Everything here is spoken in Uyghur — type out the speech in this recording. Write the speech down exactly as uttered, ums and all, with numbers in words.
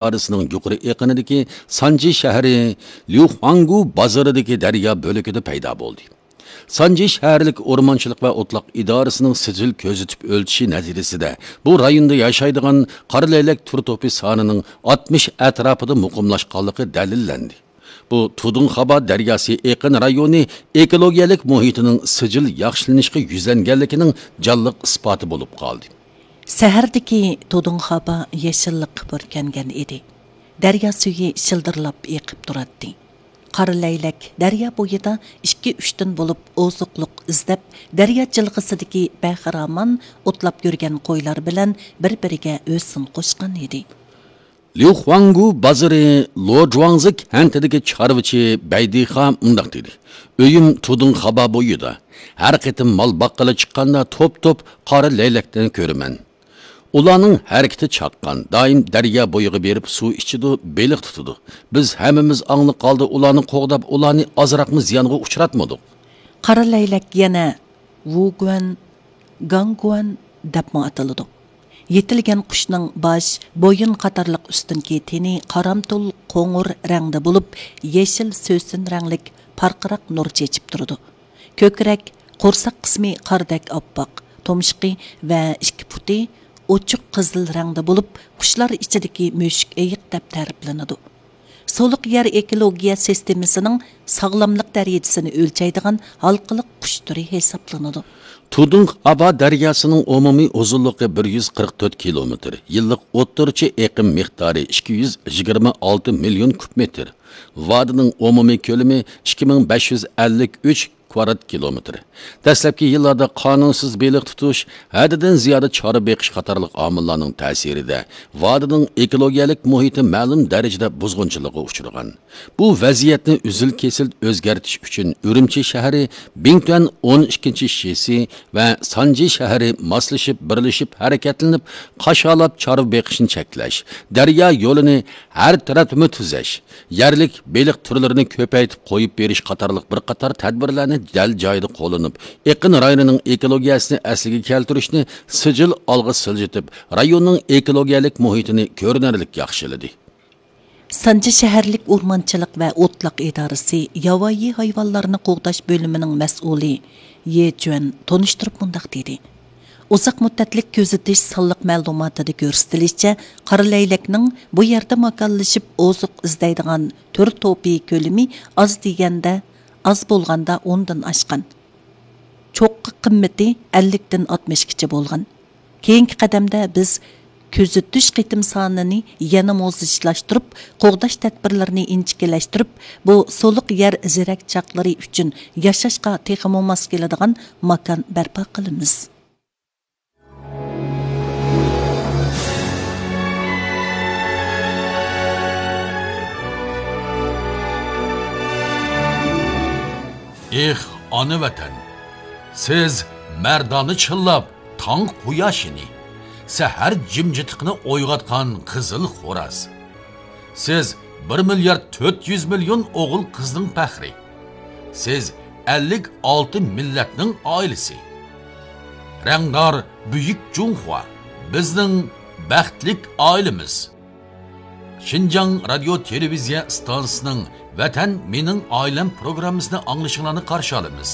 ئىدارىسىنىڭ يۇقىرى ئېقىنىدىكى سانجى شەھىرى ليۇخۇاڭگۇ بازىرىدىكى دەريا بۆلىكىدە پەيدا بولدى. سانجى شەھەرلىك ئورمانچىلىق ۋە ئوتلاق ئىدارىسىنىڭ سىجىل كۆزىتىپ ئۆلچىشى نەتىجىسىدە، بۇ رايوندا ياشايدىغان قارا لەيلەك تۈر توپى سانىنىڭ ئاتمىش ئەتراپىدا مۇقىملاشقانلىقى دەلىللەندى. بۇ تۇدۇڭخابا دەرياسى ئېقىن رايونى ئېكولوگىيەلىك مۇھىتىنىڭ سىجىل ياخشىلىنىشقا يۈزلەنگەنلىكىنىڭ جانلىق ئىسپاتى بولۇپ قالدى. شەھەردىكى تۇدۇڭخابا يېشىللىققا پۈركەنگەن ئىدى. دەريا سۈيى شىلدىرلاپ ئېقىپ تۇراتتى. قارا لەيلەك دەريا بويىدا ئىككى-ئۈچتىن بولۇپ ئوزۇقلۇق ئىزدەپ، دەريا جىلغىسىدىكى بەخىرامان ئوتلاپ يۈرگەن قويلار بىلەن بىر-بىرىگە ھۆسن قوشقان ئىدى. ليۇخۇاڭگۇ بازىرى لوجۇاڭزى كەنتىدىكى چارۋىچى بەيدىخا مۇنداق دېدى: «ئۆيۈم تۇدۇڭخابا بويىدا. ھەر قېتىم مال باققىلى چىققاندا توپ-توپ قارا لەيلەكنى كۆرىمەن. ئۇلارنىڭ ھەرىكىتى چاققان، دائىم دەريا بويىغا بېرىپ سۇ ئىچىدۇ، بېلىق تۇتىدۇ. بىز ھەممىمىز ئاڭلىق ھالدا ئۇلارنى قوغداپ، ئۇلارنى ئازراقمۇ زىيانغا ئۇچراتمىدۇق.» قارا لەيلەك يەنە ۋۇگۇەن، گاڭگۇەن دەپمۇ ئاتىلىدۇ. يېتىلگەن قۇشنىڭ باش، بويۇن قاتارلىق ئۈستۈنكى تېنى قارامتۇل قوڭۇر رەڭدە بولۇپ، يېشىل سۆسۈن رەڭلىك پارقىراق نۇر چېچىپ تۇرىدۇ. كۆكرەك، قورساق قىسمى قاردەك ئاپئاق، تۇمشۇقى ۋە ئىككى پۇتى ئوچۇق قىزىل رەڭدە بولۇپ، قۇشلار ئىچىدىكى مۈشۈك ئېيىق دەپ تەرىپلىنىدۇ. سۇلۇق يەر ئېكولوگىيە سىستېمىسىنىڭ ساغلاملىق دەرىجىسىنى ئۆلچەيدىغان ھالقىلىق قۇش تۈرى ھېسابلىنىدۇ. تۇدۇڭخابا دەرياسىنىڭ ئومۇمىي ئۇزۇنلۇقى بىر يۈز قىرىق تۆت كىلومېتىر، يىللىق ئوتتۇرىچە ئېقىم مىقدارى ئىككى يۈز يىگىرمە ئالتە مىليون كۇب مېتىر، ۋادىنىڭ ئومۇمىي كۆلىمى ئىككى مىڭ بەش يۈز ئەللىك ئۈچ كۋادرات كىلومېتىر. دەسلەپكى يىللاردا قانۇنسىز بېلىق تۇتۇش، ھەددىدىن زىيادە چارۋا بېقىش قاتارلىق ئامىللارنىڭ تەسىرىدە ۋادىنىڭ ئېكولوگىيەلىك مۇھىتى مەلۇم دەرىجىدە بۇزغۇنچىلىققا ئۇچرىغان. بۇ ۋەزىيەتنى ئۈزۈل-كېسىل ئۆزگەرتىش ئۈچۈن ئۈرۈمچى شەھىرى بىڭتۈەن ئون ئىككىنچى شىسى ۋە سانجى شەھىرى ماسلىشىپ، بىرلىشىپ ھەرىكەتلىنىپ، قاشالاپ چارۋا بېقىشنى چەكلەش، دەريا يولىنى ھەر تەرەپلىمە تۈزەش، يەرلىك بېلىق تۈرلىرىنى كۆپەيتىپ قويۇپ بېرىش قاتارلىق بىر قاتار تەدبىرلەرنى دەل جايىدا قوللىنىپ، ئېقىن رايونىنىڭ ئېكولوگىيەسىنى ئەسلىگە كەلتۈرۈشنى سىجىل ئالغا سىلجىتىپ، رايوننىڭ ئېكولوگىيەلىك مۇھىتىنى كۆرۈنەرلىك ياخشىلىدى. سانجى شەھەرلىك ئورمانچىلىق ۋە ئوتلاق ئىدارىسى ياۋايى ھايۋانلارنى قوغداش بۆلۈمىنىڭ مەسئۇلى يې جۈەن تونۇشتۇرۇپ مۇنداق دېدى: ئۇزاق مۇددەتلىك كۆزىتىش سانلىق مەلۇماتىدا كۆرسىتىلىشىچە، قارا لەيلەكنىڭ بۇ يەردە ماكانلىشىپ ئوزۇق ئىزدەيدىغان تۈر توپى كۆلىمى ئاز دېگەندە ئاز بولغاندا ئوندىن ئاشقان. چوققا قىممىتى ئەللىكتىن ئاتمىشقىچە بولغان. كېيىنكى قەدەمدە بىز كۆزىتىش قېتىم سانىنى يەنىمۇ زىچلاشتۇرۇپ، قوغداش تەدبىرلىرىنى ئىنچىكىلەشتۈرۈپ، بۇ سۇلۇق يەر زېرەكچاقلىرى ئۈچۈن ياشاشقا تېخىمۇ ماس كېلىدىغان ماكان بەرپا قىلىمىز. ئېھ، ئانا ۋەتەن! سىز مەردانە چىللاپ تاڭ قۇياشىنى، سەھەر جىمجىتلىقىنى ئويغاتقان قىزىل خوراز. سىز بىر مىليارد تۆت يۈز مىليون ئوغۇل-قىزنىڭ پەخرى. سىز ئەللىك ئالتە مىللەتنىڭ ئائىلىسى. رەڭدار بۈيۈك جۇڭخۇا، بىزنىڭ بەختلىك ئائىلىمىز. شىنجاڭ رادىيو تېلېۋىزىيە ئىستانسىسىنىڭ ۋەتەن مېنىڭ ئائىلەم پروگراممىسىنى ئاڭلىشىڭلارنى قارشى ئالىمىز.